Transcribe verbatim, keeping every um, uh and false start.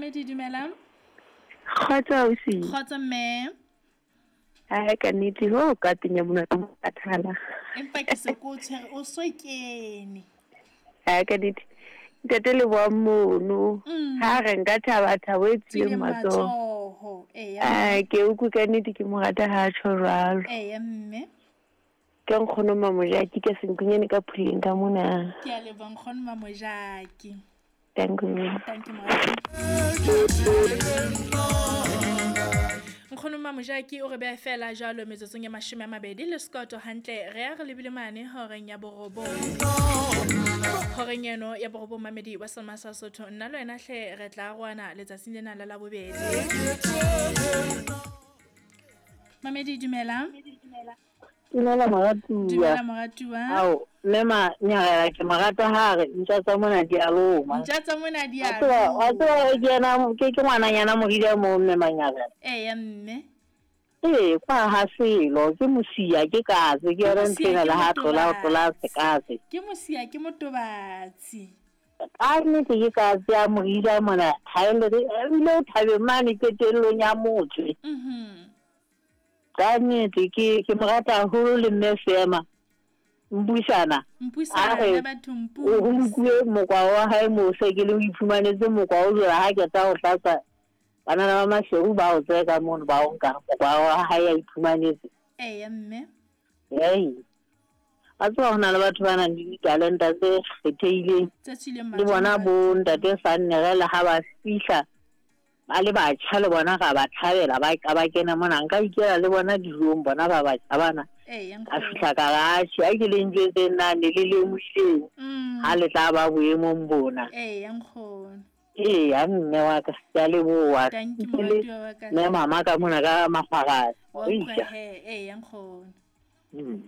Mamedi, dumelang. Kgotso ausi. Kgotso mme. Hai ka nnete ho ka tenya mona thala. Empa ke se ko tshwere o so kene. Hai ka nnete. Ntate le wa mono. Ha re nka thaba thabo e tswileng matsoho. Eya. Ai ke utlwe ka nnete ke mo rata ha tjho jwalo. Eya mme. Ke nkgono Mamojaki ka senkunyane ka phuleng ka mona. Ke a leboha nkgono Mamojaki. Thank you. Thank you moratuwa. Nkgono Mamojaki o re beha fela jwalo metsotsong ya mashome a mabedi le sekoto hantle re ya re lebile mane horeng ya borobong. Horeng eno ya borobong mamedi wa Selma sa Sotho nna le wena hle re tla arohana letsatsing lena la Labobedi. Mamedi dumela. Dumela moratuwa. Dumela moratuwa. Ao, mme ma nyarela ke morata ha re ntja tsa mona di a loma. Ntja tsa mona di a loma. Wa tseba ke yena ke ke ngwananyana moridi a mo mme manyarela. Eya mme. Ee, kwa ha selo ke mosia ke katse ke yona ntho ena le ha tlola tlola sekatse. Ke mosia ke motobatsi. Ka nnete ke katse ya moridi a mona ha e le ebile o thabeng mane qetellong ya motse. Mhm. Ka nnete ke ke mo rata haholo le mme Sema. Mpuisana. Mpuisana batho mpuisa. O nkuwe mokwa wa hae mo se ke le o iphumanetse mokwa o jwala ha ke tsa ho tlatsa banana ba Maseru ba o tseka mono ba o nka mokwa wa hae a iphumanetse. Eya mme. Ei. A tswa hona le batho ba nang le ditalenta tse kgethehileng. Tse tswileng Le bona bo ntate Sannerela ha ba fihla ba le batjha le bona ga ba thabela ba ka ba kena mona nka ikela le bona dijong bona ba batjha bana. Eya a fihla ka batjha a ke le njwetse nna ne le lemohleng ha le tla ba boemong bona. Eya nkgono. Eya mme wa ka ke a leboha. Thank you moratuwa wa ka. Mme mama ka mona ka makgwara. Eya nkgono. Mm.